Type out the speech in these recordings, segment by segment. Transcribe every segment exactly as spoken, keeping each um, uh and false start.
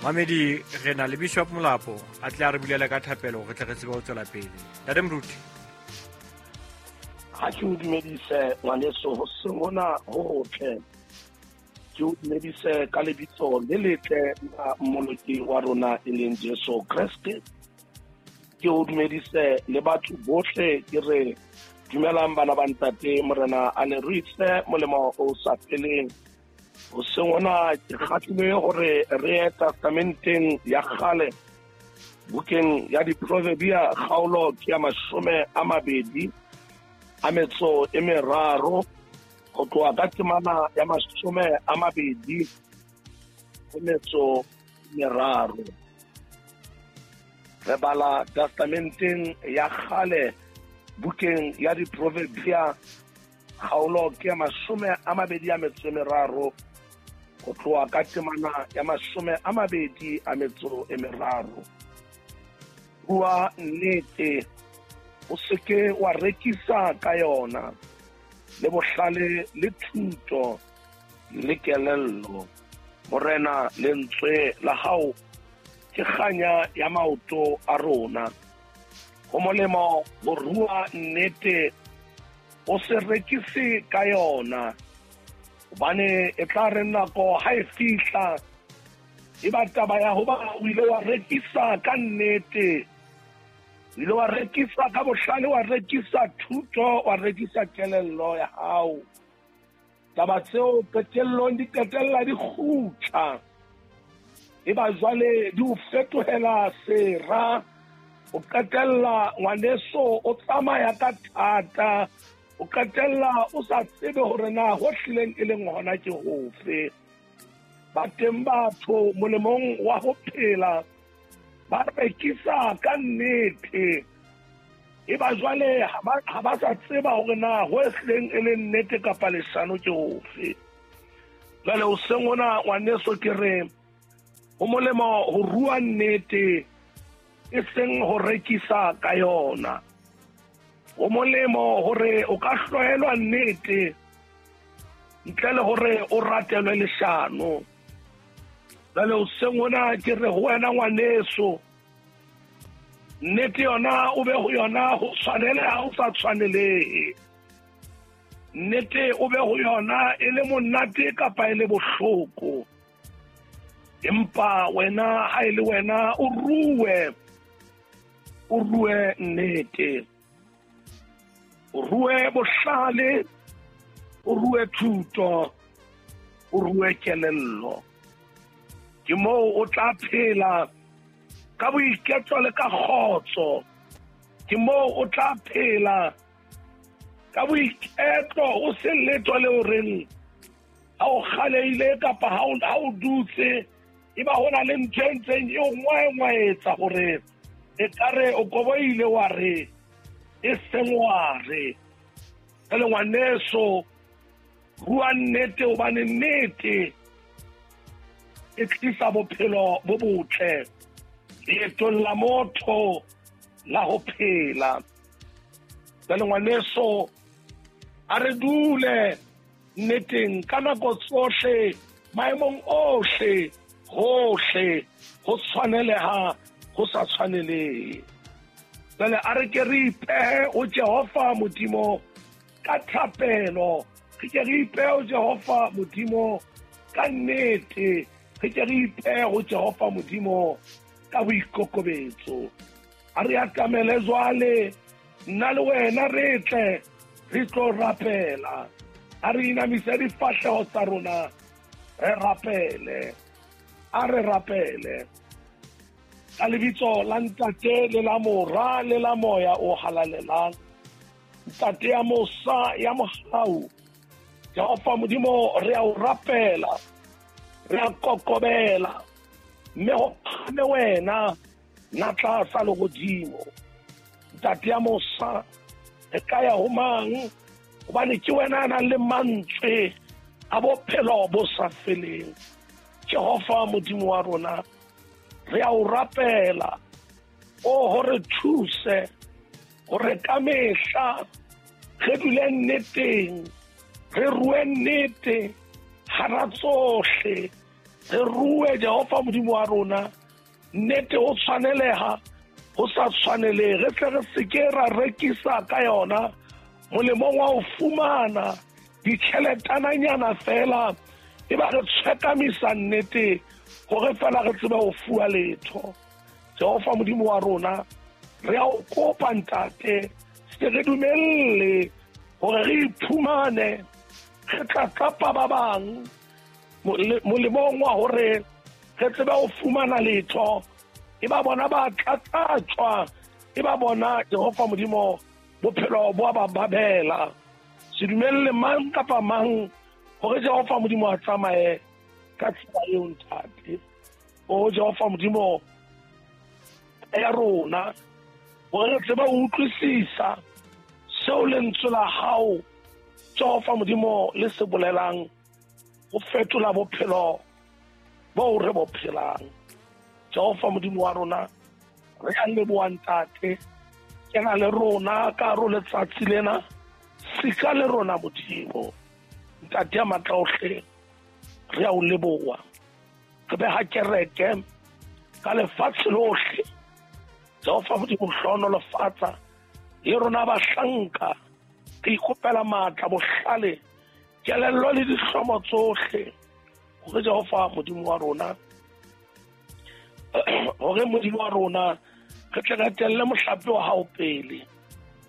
Mamedi re na le Bishop Molapo a tle a re bulele ka thapelo re tle re tsebe ho tswela pele. Ntate Moruti. Ha ke o dumedise ngwaneso hoseng hona ho hotle. Ke o dumedise ka lebitso le letle la Mmoloki wa rona e leng Jesu Kreste. Ke o dumedise le batho bohle ke re dumelang bana ba ntate Morena a le ruise molemo o sa feleng. Hoseng hona ke kgahlilwe hore re ye testamenteng ya kgale bukeng ya Diproverbia kgaolo ke ya mashome a mabedi a metso e meraro ho tloha ka temana ya mashome a mabedi a metso e meraro. Re bala testamenteng ya kgale bukeng ya Diproverbia kgaolo ke ya mashome a mabedi a metso e meraro ho tloha ka temana ya mashome a mabedi a metso e meraro. Bua nnete, o seke wa rekisa ka yona, le bohlale le thuto le kelello. Morena, lentswe la hao ke kganya ya maoto a rona. Ho molemo ho rua nnete, o se rekise ka yona, hobane e tla re nako ha e fihla e ba taba ya hoba o ile wa rekisa ka nnete, o ile wa rekisa ka bohlale, wa rekisa thuto, wa rekisa kelello ya hao. Taba tseo qetellong di qetella di kgutla, e ba jwale di o fetohela sera. O qetella ngwaneso o tsamaya ka thata, o qetella o sa tsebe hore na ho hlileng e leng hona ke hofe. Ba teng batho molemong wa ho phela ba rekisa ka nnete, e ba jwale ha ba sa tseba hore na ho hlileng e leng nnete kapa leshano ke hofe. Jwale hoseng hona ngwaneso ke re ho molemo ho rua nnete e seng ho rekisa ka yona. Ho molemo hore o ka hlohelwa nnete ntle le hore o ratelwe leshano. Jwale hoseng hona ke re ho wena ngwaneso, nnete yona o be ho yona ho tshwaneleha o sa tshwanelehe. Nnete o be ho yona e le monate kapa e le bohloko, empa wena ha e le wena o rue, o rue nnete, o rue bohlale, o rue thuto, o rue kelello. Ke moo o tla phela ka boiketlo le ka kgotso. Ke moo o tla phela ka boiketlo, o se letho le horeng ha o kgaleile kapa ha o dutse e ba hona le ntho e ntseng e o ngwaengwaetsa hore ekare o koboile wa re e seng wa re. Jwale ngwaneso, rua nnete hobane nnete e tlisa bophelo bo botle leetong la motho la ho phela. Jwale ngwaneso, a re dule nneteng ka nako tsohle, maemong ohle, hohle, ho tshwaneleha ho sa tshwanelehe. Jwale a re ke re ipehe ho Jehova Modimo ka thapelo, re ke re ipehe ho Jehova Modimo ka nnete, re ke re ipehe ho Jehova Modimo ka boikokobetso. A re atamele jwale, nna le wena re tle re tlo rapela. A re inamise difahleho tsa rona re rapele. A re rapele ka lebitso la Ntate le la Mora le la Moya o halalelang. Ntate ya mosa ya mohau, Jehova Modimo, re a o rapela, re a kokobela, mme ho phahame wena natla sa lehodimo. Ntate ya mosa, re ka ya ho mang? Hobane ke wena a nang le mantswe a bophelo bo sa feleng. Jehova Modimo wa rona, re a o rapela, o hore thuse hore ka mehla re dule nneteng, re rue nnete hara tsohle, Re rue Jehova Modimo wa rona nnete ho tshwaneleha ho sa tshwanelehe, re tle re se ke ra rekisa ka yona molemong wa ho fumana ditjheletananyana fela, e ba re tshwekamisa nnete hore fela re tsebe ho fuwa letho. Jehova Modimo wa rona, re a o kopa ntate, se re dumelle hore re iphumane re tlatlapa ba bang molemong wa hore re tsebe ho fumana letho, e ba bona ba tlatlatswa, e ba bona Jehova Modimo bophelo bo ba babela. Se dumelle mang kapa mang hore Jehova Modimo a tsamaye ka tsela eo ntate. O Jehova Modimo ya rona, hore re tsebe ho utlwisisa seo lentswe la hao Jehova Modimo le se bolelang ho fetola bophelo bo re bo phelang. Jehova Modimo wa rona, re a leboha ntate, kena le rona ka hare ho letsatsi lena, sika le rona Modimo. Ntate ya matla ohle, re a o leboha. Re beha kereke ka lefatshe lohle. Jehova Modimo hlohonolofatsa le rona bahlanka, re ikopela matla, bohlale, kelello le dihlomo tsohle hore Jehova Modimo wa rona, hore Modimo wa rona re tle re etelle mohlape wa hao pele.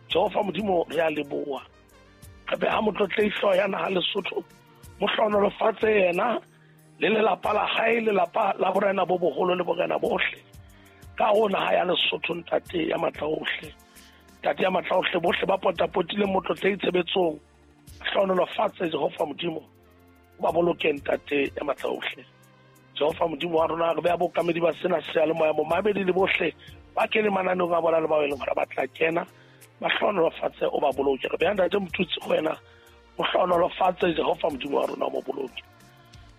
Jehova Modimo re a leboha. Re beha motlotlehi ya naha Lesotho, mo hlohonolofatse yena le lelapa la hae, lelapa la borena bo boholo le borena bohle ka ho naha ya Lesotho. Ntate ya matla ohle, ntate ya matla ohle, bohle ba potapotileng motlotlehi tshebetsong, hlohonolofatse Jehova Modimo, ba boloke ntate ya matla ohle. Jehova Modimo wa rona, re beha bokamedi ba sena seyalemoya, momamedi le bohle ba kene mananeong a bona le bao e leng hore ba tla kena, ba hlohonolofatse, o ba boloke. Re beha ntate Motutsi go wena, o hlohonolofatse Jehova Modimo wa rona, o mo boloke.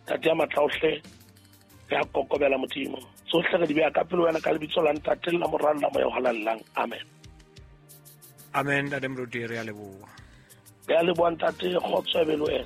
Ntate ya matla ohle, re a kokobela Modimo, tsohle re di beha ka pele wena ka lebitso la Ntate le la Mora le la Moya o Halalelang. Amen. Amen. Ntate Moruti, re a leboha. Re a leboha ntate, kgotso e be le wena.